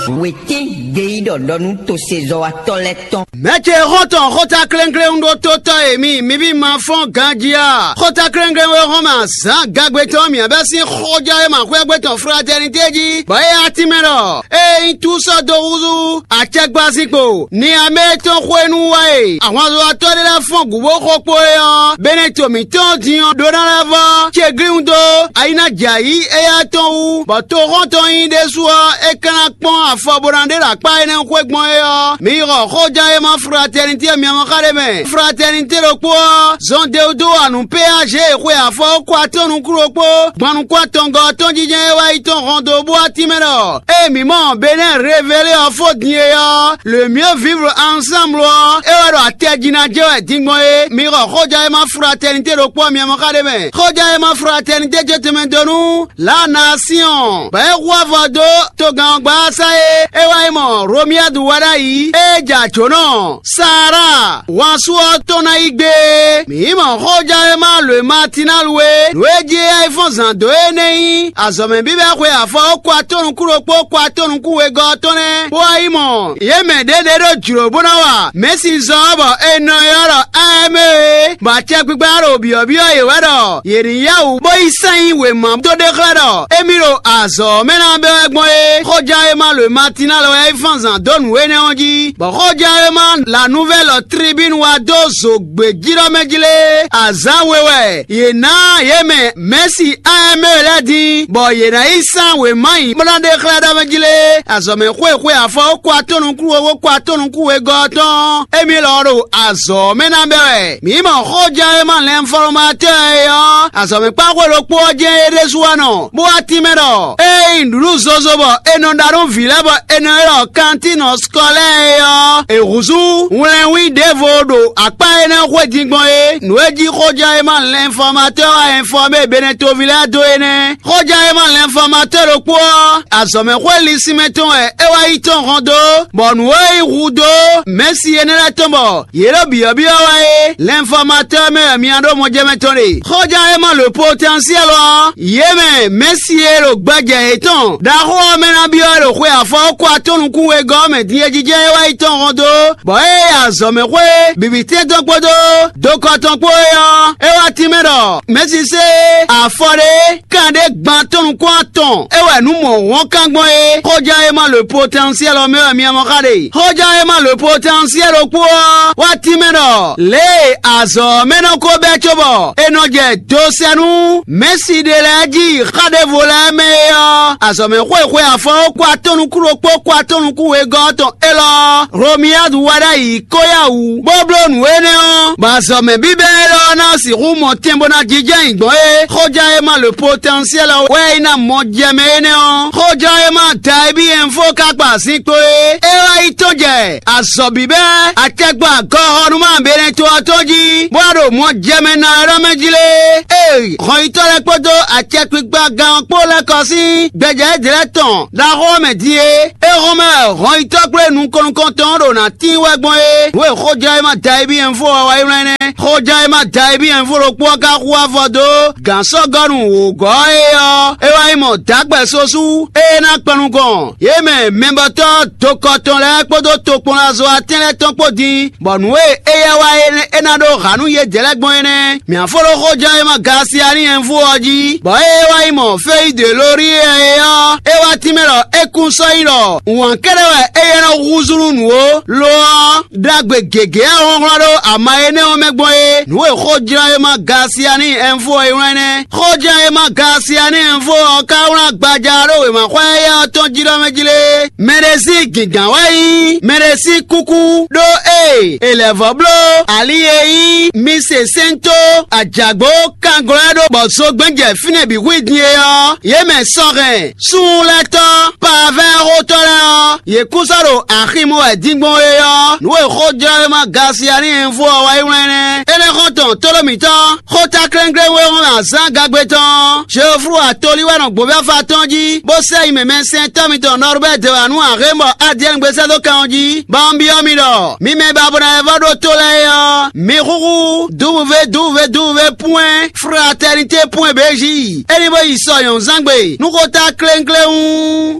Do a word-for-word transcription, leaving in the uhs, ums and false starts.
Wětɛ́n gbeyíɖɔ ɖɔ nú tosezɔ́watɔ́ lɛ́ɛ tɔn. Mɛ̌ ce xɔ́ntɔn xóta kléŋkléŋ ɖó tótɔ́ e mi, mi bí ma fɔ́n ganjí a? Xóta kléŋkléŋ e hɔn mɛ azǎn gagbe tɔn mǐ bɛ́ sín xɔjá e ma xwé gbe tɔn fratɛnité jí, bɔ é átínmɛ ɖɔ: Ée nyí tú sɔ́ dó húzú acɛgbazínkpo, ni amɛ tɔn xwenu wá e ahwanzɔ́watɔ́ ɖé lɛ́ɛ fɔ́n gǔ bó xo kpo é ɔ́, Beneto mǐtɔn din ɔ́ ɖó ná lɛ́ vɔ́ ce glíhún dó ayi ná jɛ ayǐ éyɛ́ tɔn wú, bɔ toxɔ́ntɔn nyí ɖésú ɔ́, é ka ná kpɔ́n afɔ bó ná ɖe ɖo akpá énɛ́ xwé gbɔn é ɔ́, mi yi xɔ xóján e ma fratɛnitě myamɔ́ xa ɖé mɛ. Fratɛnitě ɖokpó ɔ́, zɔn dewdó wa nǔ péáze e xwe afɔ kó atɔ́ nukúnnú ɖokpó gbɔn nukún atɔngɔ́ tɔn jijɛ e wá yi tɔn hɔn dó bó wá tínmɛ ɖɔ: Ée mǐ mɔ Benɛ́ Revelé ɔ́ fó din é ɔ́, le mieux vivre ensemble ɔ́, é wɛ ɖo atɛjina jɛ wɛ din gbɔn é. Mi xɔ xóján e ma fratɛnitě ɖokpó myamɔ́ xa ɖé mɛ. Xóján e ma fratɛnitě ce tɛnmɛ dó nú Lanasyɔn, bɔ é hu avɔ dó togán ɔ́ gbása é, é wá yi mɔ Romiadu wá ɖ'ayǐ, é jɛ ajǒnɔ Saara, wansu ɔ́ tɔn ná yi gbé. Mǐ mɔ xóján e ma lǒ e Matinali é, nǔ e jí é yá yi fɔ́n zǎn dó é nɛ́ nyí azɔ̌mɛ bíbɛ́ xwe afɔ ó kɔ atɔ́ nukún ɖokpó kɔ atɔ́ nukún wegɔ́ ɔ́ tɔn nɛ́, bó wá yi mɔ yě mɛ ɖě ɖě ɖo jlǒ bó ná wa mɛ̌si zɔn ɔ́, bɔ è nɔ ylɔ́ ɖɔ Amɛ́ é, bɔ acɛkpikpa ɖo byɔ̌byɔ́ yě wɛ ɖɔ yě ní yá wǔ bó yi sɛ́n nyi wěma dó ɖe xlɛ́ ɖɔ émí ɖo azɔ̌ ɔ́ mɛ ná bɛ́ wɛ gbɔn é. Xóján e ma lǒ e Matinali wɛ é fán zǎn dó nǔ énɛ́ ɔ́ jí, bɔ xóján e ma la nuvɛ́lɔ Tribínu wá dó zǒgbéjínɔ mɛ jí lé. Azǎn we wɛ yě ná yě mɛ mɛ̌si Amɛ́ lɛ́ɛ din, bɔ yě ná yi sán wěma nyi bó ná ɖe xlɛ́ ɖɔ mɛ jí lé. Azɔ̌mɛ xwé xwe afɔ ó kɔ atɔ́ nukún we, ó kɔ atɔ́ nukún wegɔ́ ɔ́ tɔn, émí lɔ ɖo azɔ̌ mɛ ná bɛ́ wɛ. Mǐ mɔ xóján e ma lɛnfɔlɔmatɔ́ e ɔ́, azɔ̌mɛkpáxwé ɖokpó ɔ́ jɛ́n é ɖésú wá nɔ, bó wá tínmɛ ɖɔ: Ée nyí nǔɖuɖu zozo bɔ è nɔ ɖa nú vǐ lɛ́ɛ bɔ è nɔ ylɔ́ kantín scolaire é ɔ́, è húzú wlɛnwín ɖěvo ɖo akpá énɛ́ xwé din gbɔn é. Nǔ e jí xóján e ma lɛnfɔmatɔ́ wá ɛnfɔmé Benɛtoví lɛ́ɛ dó é nɛ́. Xóján e ma lɛnfɔmatɔ́ ɖokpó ɔ́, azɔ̌mɛxwé linsinmɛ tɔn wɛ é wá yi tɔn hɔn dó, bɔ nǔ e yi hu dó mɛ̌si énɛ́ lɛ́ɛ tɔn bɔ yě ɖo byɔ̌byɔ́ wɛ é, lɛnfɔmatɔ́ mɛ wɛ mi ná ɖó mɔjɛmɛ tɔn ɖe. Xóján e ma lǒ potɛnsiɛ́l ɔ́, yě mɛ mɛ̌si e ɖo gbɛjɛ yětɔn ɖaxó ɔ́ mɛ ná byɔ́ wɛ ɖo xwe afɔ kó atɔ́ nukún wegɔ́ ɔ́ mɛ din e jijɛ é wá yi tɔn hɔn dó, bɔ é yi azɔ̌mɛxwé bǐbítɛ́ tɔn kpódó dokɔ tɔn kpó é ɔ́, é wá tínmɛ ɖɔ mɛ̌si sé afɔ ɖé kan ɖé gban tɔn nukún atɔn é wɛ nǔ mɔ hɔn kan gbɔn é. Xóján e ma lǒ potɛnsiɛ́l ɔ́ mɛ wɛ mi mɔ xa ɖe. Xóján e ma lǒ potɛnsiɛ́l ɖokpó ɔ́ wá tínmɛ ɖɔ lě e azɔ̌ ɔ́ mɛ nɔ ko bɛ́ cóbɔ è nɔ jɛ dosɛnú mɛ̌si ɖé lɛ́ɛ jí xa ɖěvo lɛ́ɛ mɛ é ɔ́, azɔ̌mɛxwé xwe afɔ kó atɔ́ nukún ɖokpó kó atɔ́ nukún wegɔ́ tɔn élɔ́, Hlomiyadu wá ɖ'ayǐ kó yá wǔ, bó bló nǔ énɛ́ ɔ́, bɔ azɔ̌mɛ bíbɛ́ élɔ́ ná sixú mɔ tɛn bó ná jínjɔ́n ayǐ gbɔn é. Xóján e ma lǒ potɛnsiɛ́l ɔ́ wɛ é ná mɔ jɛ mɛ énɛ́ ɔ́, xóján e ma da e bí ɛnfó ka kpa zinkpo é. É wá yi tɔn jɛ azɔ̌ bíbɛ́ acɛkpo agɔxɔnúma Benɛto ɔ́ tɔn jí, bó wá ɖo mɔ jɛ mɛ ná wɛ ɖɔ mɛ jí lé. Ée hɔnyitɔ́ lɛ́ɛ kpódó acɛkpikpa gán ɔ́ kpó lɛ́ kɔ sín gbɛjɛ́ ɖě lɛ́ɛ tɔn ɖaxó ɔ́ mɛ din é, é hɔn mɛ hɔnyitɔ́ kplé nukɔn nukɔntɔn ɖo nǎ tín wɛ gbɔn é. Nǔ e xóján e ma da e bí ɛnfó ɔ́ wá yi wlán nɛ́. Xóján e ma da e bí ɛnfó ɖokpó ɔ́ ka hu avɔ dó gǎn sɔ́gɔ́nu wǒgɔ́ é ɔ́, é wá nyí mɔ dǎgbɛ́ sosú e ná kpan nukɔn yě mɛ mɛbɔtɔ́ dokɔ tɔn lɛ́ɛ kpódó tokpɔnlazɔ́watɛ́n lɛ́ɛ tɔn kpó din, bɔ nǔ e éyɛ́ wa é ná ɖó ha nú yědɛɛ lɛ́ɛ gbɔn é nɛ́. Mǐ á fó ɖó xóján e ma Galasiani ɛnvú ɔ́ jí, bɔ ée é wá yi mɔ Feyídelóríɛ é ɔ́, é wá tínmɛ ɖɔ é kún sɔ́ nyí ɖɔ wǎn kɛ́ɖɛ́ wɛ éyɛ́ nɔ húzú nú nǔ ó; lo ɔ́, ɖagbe gěgé e hlɔ́nhlɔ́n ɖó ama énɛ́ ɔ́ mɛ gbɔn é. Nǔ e xójlán e ma Galasiani ɛnvú ɔ́ yi wlán nɛ́. Xójlán e ma Galasiani ɛnvú ɔ́ ka wlán gbaja ɖó wěmaxɔ́ éyɛ́ ɔ́ tɔn jí ɖɔ mɛ jí lé. Mɛ ɖé sín gǐngán wɛ nyí mɛ ɖé sín kúkú, ɖó ée è lɛ̌ vɔ́ bló ali e nyí mise sɛ́ntó ajǎgbó kanglɔ́ ɖó bɔ zogbɛ́n jɛ fínɛ́ bǐ hu i din é ɔ́, yě mɛ sɔhɛn súnnu lɛ́ɛ tɔn pavɛ́ xótɔ́ lɛ́ɛ ɔ́, yě kún sɔ́ ɖo axi mɔ wɛ din gbɔn é ɔ́, nǔ e xójlɔ́wéma Galasiani ɛnvú ɔ́ wá yi wlán nɛ́. Énɛ́ xɔ́ntɔn tlóló mǐtɔn, xóta klɛ́nklɛ́n wé hɔn azǎn gagbe tɔn, Jeoflu atolí wɛ nɔ gbǒvɛ́fa tɔn jí, bó sɛ́ yi mɛmɛsɛntɔ́ mitɔn Nɔrubɛ́ dě wá nú Ahémbɔ Adiɛ́nugbe sɛ́ dó kan ɔ́ jí, bɔ un byɔ́ mi ɖɔ: mi mɛ ba bo ná lɛ́ vɔ́ ɖó tó lɛ́ɛ é ɔ́, mi xúxú dǔvúvé dǔvúvé dǔvúvé pwɛ́n fratɛnitě pwɛ́n bějí, é ní bó yi sɔ nyɔ̌nuzángbe nú xóta klénkléwún.